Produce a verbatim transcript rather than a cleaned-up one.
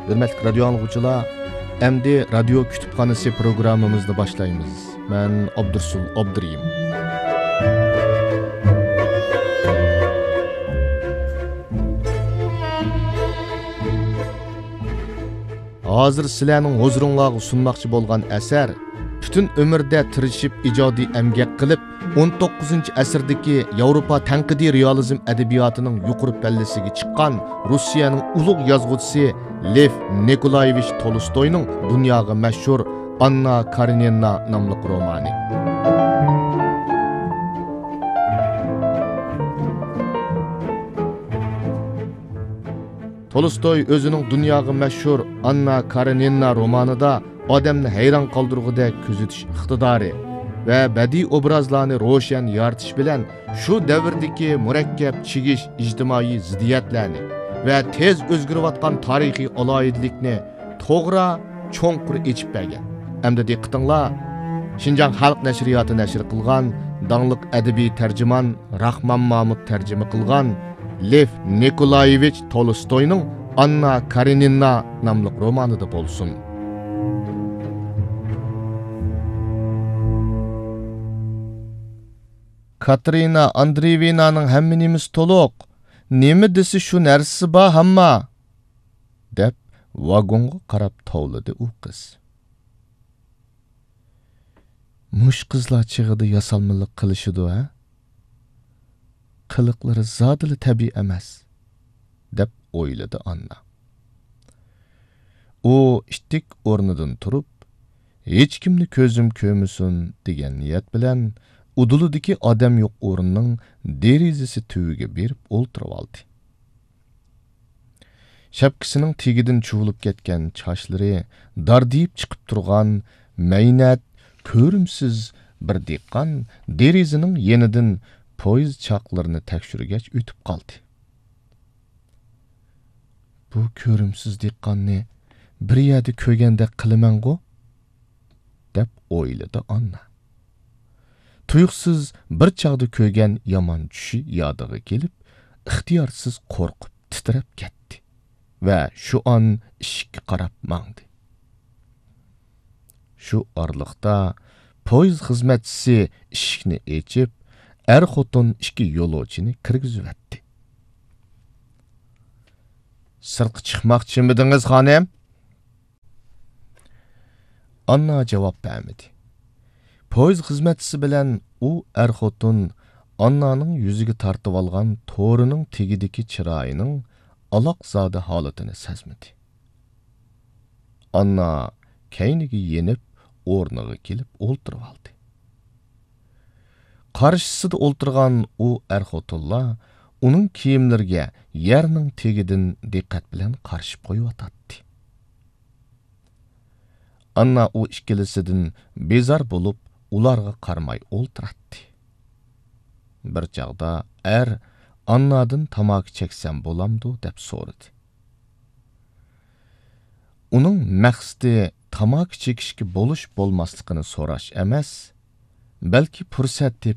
ھۆرمەتلىك رادىيو ئاڭلىغۇچىلار، ئەمدى رادىيو كۇتۇپخانىسى پروگراممىمىزنى باشلايمىز. مەن ئابدۇرسۇل ئابدۇرېھىم. ھازىر سىلەرنىڭ ھۇزۇرۇڭلارغا سۇنماقچى بولغان ئەسەر، پۈتۈن ئۆمرىدە تىرىشىپ ئىجادىي ئەمگەك قىلىپ، ئون توققۇزىنچى ئەسىردىكى ياۋروپا تەنقىدىي رېئالىزم ئەدەبىياتىنىڭ يۇقىرى پەللىسىگە چىققان روسىيەنىڭ ئۇلۇغ يازغۇچىسى لېف نىكولايېۋىچ تولستوينىڭ دۇنياغا مەشھۇر ئاننا كارېنىنا ناملىق رومانى. تولستوي ئۆزىنىڭ دۇنياغا مەشھۇر ئاننا كارېنىنا رومانىدا ئادەمنى ھەيران قالدۇرغۇدەك كۆزىتىش ئىقتىدارى ۋە بەدىئىي ئوبرازلارنى روشەن يارىتىش بىلەن شۇ دەۋردىكى مۇرەككەپ چىگىش ئىجتىمائىي زىددىيەتلەرنى ۋە تېز ئۆزگىرىۋاتقان تارىخىي ئالاھىدىلىكنى توغرا، چوڭقۇر ئېچىپ بەرگەن. ئەمدى دىققىتىڭلار، شىنجاڭ خەلق نەشرىياتى نەشر قىلغان داڭلىق ئەدەبىي تەرجىمان راخمان مامۇت تەرجىمە قىلغان لېف نىكولايېۋىچ تولستوينىڭ ئاننا كارېنىنا ناملىق رومانىدا بولسۇن. كاتېرىنا ئاندرېيېۋنانىڭ ھەممە نېمىسى تولۇق. نېمە دېسە شۇ نەرسىسى بار ھەمما، دەپ ۋاگونغا قاراپ توۋلىدى ئۇ قىز. مۇشۇ قىزلار چېغىدا ياسالمىلىق قىلىشىدۇ ھە؟ قىلىقلىرى زادىلا تەبىئىي ئەمەس، دەپ ئويلىدى ئاننا. ئۇ ئىتتىك ئورنىدىن تۇرۇپ، ھېچكىمنى كۆزۈم كۆرمىسۇن دېگەن نىيەت بىلەن ئۇدۇلىدىكى ئادەم يوق ئورۇننىڭ دېرىزىسى تۈۋىگە بېرىپ ئولتۇرۇۋالدى. شەپكىسىنىڭ تېگىدىن چۇۋۇلۇپ كەتكەن چاچلىرى داردىيىپ چىقىپ تۇرغان مەينەت، كۆرۈمسىز بىر دېھقان دېرىزىنىڭ يېنىدىن پويىز چاقلىرىنى تەكشۈرگەچ ئۆتۈپ قالدى. بۇ كۆرۈمسىز دېھقاننى بىر يەردە كۆرگەندەك قىلىمەنغۇ؟ دەپ ئويلىدى ئاننا. تۇيۇقسىز بىر چاغدا كۆرگەن يامان چۈشى يادىغا كېلىپ، ئىختىيارسىز قورقۇپ تىترەپ كەتتى ۋە شۇ ئان ئىشىككە قاراپ ماڭدى. شۇ ئارىلىقتا پويىز خىزمەتچىسى ئىشىكنى ئېچىپ، ئەر-خوتۇن ئىككى يولۇچىنى كىرگۈزۈۋەتتى. سىرتقا چىقماقچىمىدىڭىز، خانىم؟ ئاننا جاۋاب بەرمىدى. پويىز خىزمەتچىسى بىلەن ئۇ ئەر-خوتۇن ئاننانىڭ يۈزىگە تارتىۋالغان تورىنىڭ تېگىدىكى چىرايىنىڭ ئالاقزادە ھالىتىنى سەزمىدى. ئاننا كەينىگە يېنىپ، ئورنىغا كېلىپ ئولتۇرۇۋالدى. قارشىسىدا ئولتۇرغان ئۇ ئەر-خوتۇنلار ئۇنىڭ كىيىملىرىگە يەرنىڭ تېگىدىن دىققەت بىلەن قارىشىپ قويۇۋاتاتتى. ئاننا ئۇ ئىككىلىسىدىن بىزار بولۇپ، ئۇلارغا قارىماي ئولتۇراتتى. بىر چاغدا ئەر ئاننادىن تاماكا چەكسەم بولامدۇ دەپ سورىدى. ئۇنىڭ مەقسىتى تاماكا چېكىشكە بولۇش بولماسلىقىنى سوراش ئەمەس، بەلكى پۇرسەت تېپىپ